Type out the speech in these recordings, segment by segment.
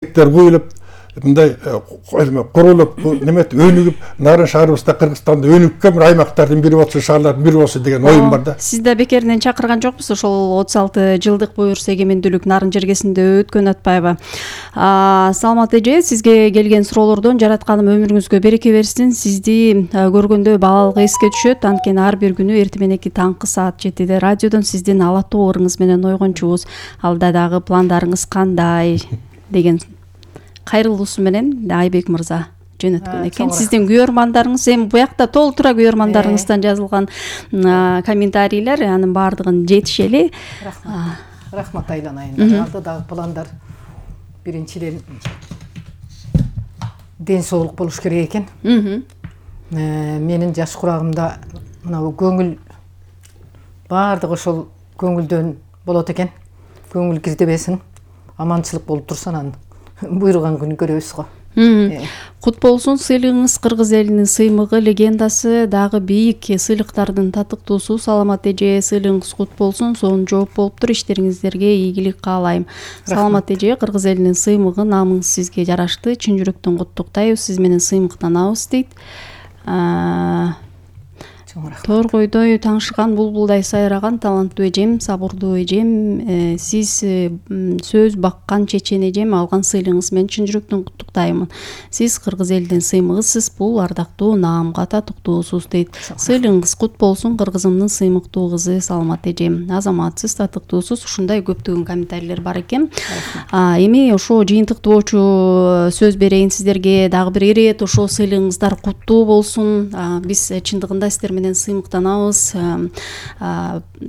куюлуп мындай курулуп неметип өнүгүп нарын шаарыбызда Кыргызстанда өнүккөн бир аймактардын бири болсо, шаарлардын бири болсо деген оюм бар да. Сиз да бекеринен чакырган жокпусуз ошол 36 жылдык буюрса эгемендүүлүк нарын жергесинде өткөн Атпаева. Саламат эже, сизге келген суроолордон жаратканым өмүрүңүзгө береке берсин. Сизди көргөндө баалык эске түшөт. Анткени ар бир күнү эртең мененки таңкы саат 7де радиодон сиздин алаттуу ырыңыз менен ойгончубуз. Алда дагы пландарыңыз кандай деген кайрылуусу менен Айбек мырза жөнөткөн экен. Сиздин күйөрмандарыңыз, эми буякта толтура күйөрмандарыңыздан жазылган комментарийлер, анын баардыгын жетишели. Рахмат айланайын. Алда дагы пландар биринчиден ден соолук болуш керек экен. Менин жаш курагымда мына көңүл баардыгы ошол көңүлдөн болот экен. Көңүл кирдебесин, аманчылык болуп турса анан буйруган күнү көрөбүз го. Кут болсун сыйлыгыңыз. Кыргыз элинин сыймыгы, легендасы, дагы бийик сыйлыктардын татыктуусу. Саламат эже, сыйлыгыңыз кут болсун. Сонун жооп болуптур. Иштериңиздерге ийгилик каалайм. Саламат эже, Кыргыз элинин сыймыгы, намыңыз сизге жарашты. Чын жүрөктөн куттуктайбыз. Сиз менен сыймыктанабыз дейт. Торгойдой таңшыган булбулдай сайраган таланттуу эжем, сабырдуу эжем, сиз сөз баккан чечен эжем, алган сыйлыгыңыз менен чын жүрөктөн куттуктаймын. Сиз Кыргыз элинин сыймыгысыз, бул ардактуу наамга татыктуусуз дейт. Сыйлыгыңыз кут болсун, Кыргызымдын сыймыктуу кызы Саламат эжем. Азаматсыз, татыктуусуз, ушундай көптөгөн комментарийлер бар экен. Эми ошо жыйынтыктоочу сөз берейин сиздерге. Дагы бир ирет ошо сыйлыгыңыздар куттуу болсун. Биз чындыгында сиздер менен сыймыктанабыз.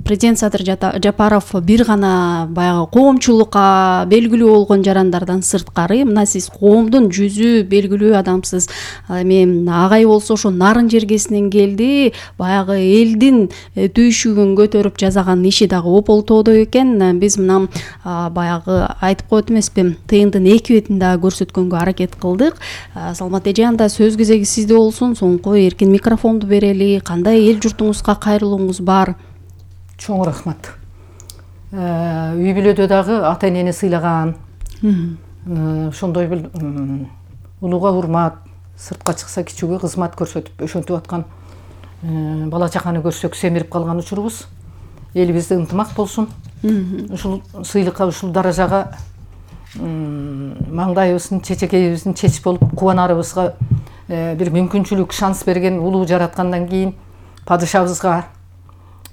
Президент Садыр Жапаров бир гана баягы коомчулукка белгилүү болгон жарандардан сырткары, мына сиз коомдун жүзү белгилүү адамсыз. Эми агай болсо ошо нарын жергесинен келди, баягы элдин түйшүгүн көтөрүп жасаган иши дагы ополтоодо экен. Биз мына баягы айтып коет эмеспи, тыйындын эки бетин дагы көрсөткөнгө аракет кылдык. Саламат эже, анда сөз кезеги сизде болсун. Соңку эркин микрофонду берели. Кандай эл журтуңузга кайрылууңуз бар? Чоң рахмат. Үй бүлөдө дагы ата энени сыйлаган, ошондой бир улууга урмат, сыртка чыкса кичүүгө кызмат көрсөтүп өшөнтүп аткан бала чаканы көрсөк семирип калган учурубуз. Элибизде ынтымак болсун. Ушул сыйлыкка, ушул даражага маңдайыбыздын, чечекейибиздин чеч болуп кубанарыбызга бир мүмкүнчүлүк, шанс берген улуу жараткандан кийин падышабызга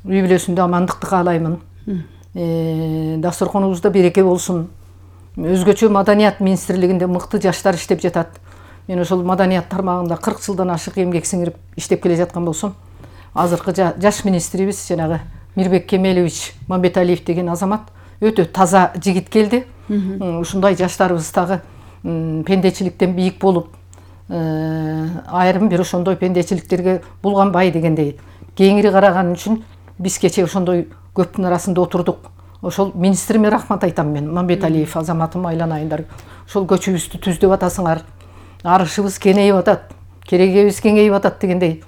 үй бүлөсүндө амандыкты каалаймын. Дасторконубузда береке болсун. Өзгөчө маданият министрлигинде мыкты жаштар иштеп жатат. Мен ошол маданият тармагында 40 жылдан ашык эмгек сиңирип иштеп келе жаткан болсом, азыркы жаш министрибиз жанагы Мирбек Кемелович Мамбеталиев деген азамат өтө таза жигит келди. Ушундай жаштарыбыз дагы пендечиликтен бийик болуп, айрым бир ошондой пендечиликтерге булганбай дегендей кеңири караган үчүн биз кече ошондой көптүн арасында отурдук. Ошол министриме рахмат айтам мен. Мамбеталиев азаматым, айланайындар. Ошол көчүбүздү түздөп атасыңар. Арышыбыз кеңейип атат, керегебиз кеңейип атат дегендей.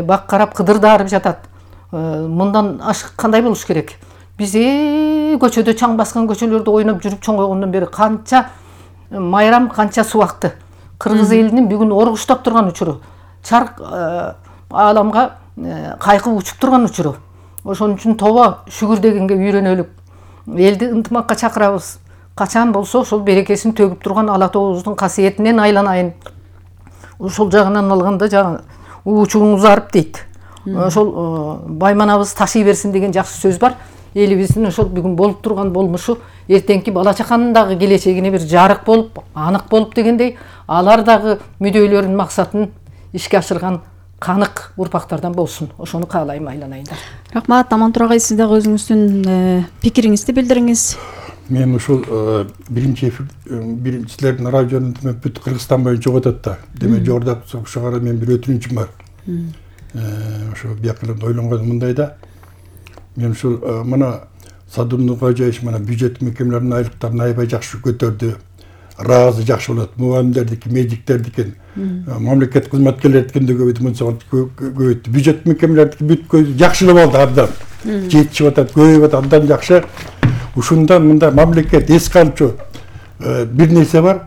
Бак карап кыдыр дарып жатат. Мындан ашык кандай болуш керек? Биз көчөдө чаң баскан көчөлөрдө ойноп жүрүп чоңойгондон бери канча майрам, канча субакты. Кыргыз элинин бүгүн оргуштап турган учуру, чарк ааламга кайкып учуп турган учуру. Ошон үчүн тоба шүгүр дегенге үйрөнөлүк. Элди ынтымакка чакырабыз. Качан болсо ошол берекесин төгүп турган ала тообуздун касиетинен айланайын. Ошол жагынан алганда жана уучуңуз арып дейт. Ошол байманабыз ташый берсин деген жакшы сөз бар. Элибиздин ошол бүгүн болуп турган болмушу эртеңки бала чаканын дагы келечегине бир жарык болуп, анык болуп дегендей, алар дагы мүдөлөрүнүн максатын ишке ашырган канык урпактардан болсун. Ошону каалайм, айланайындар. Рахмат. Аман Тургай, сиз дагы өзүңүздүн пикириңизди билдириңиз. Мен ушул биринчилердин радионун бүт Кыргызстан боюнча чыгып атат да. Демек жогоруда ошого мен бир өтүнүчүм бар. Ошо биякылып ойлонгон мындай да. Мен ушул мына Садыр Нуркожоевич мына бюджет мекемелеринин айлыктарын аябай жакшы көтөрдү. Разы жакшы болот. Мугалимдердики, медиктердики, мамлекет кызматкерлердикин көбөйттү. Бюджет мекемелердики бүт жакшы болду абдан. Жетишип атат, көбөйүп атат, абдан жакшы. Ушундан мында мамлекет эске алчу бир нерсе бар,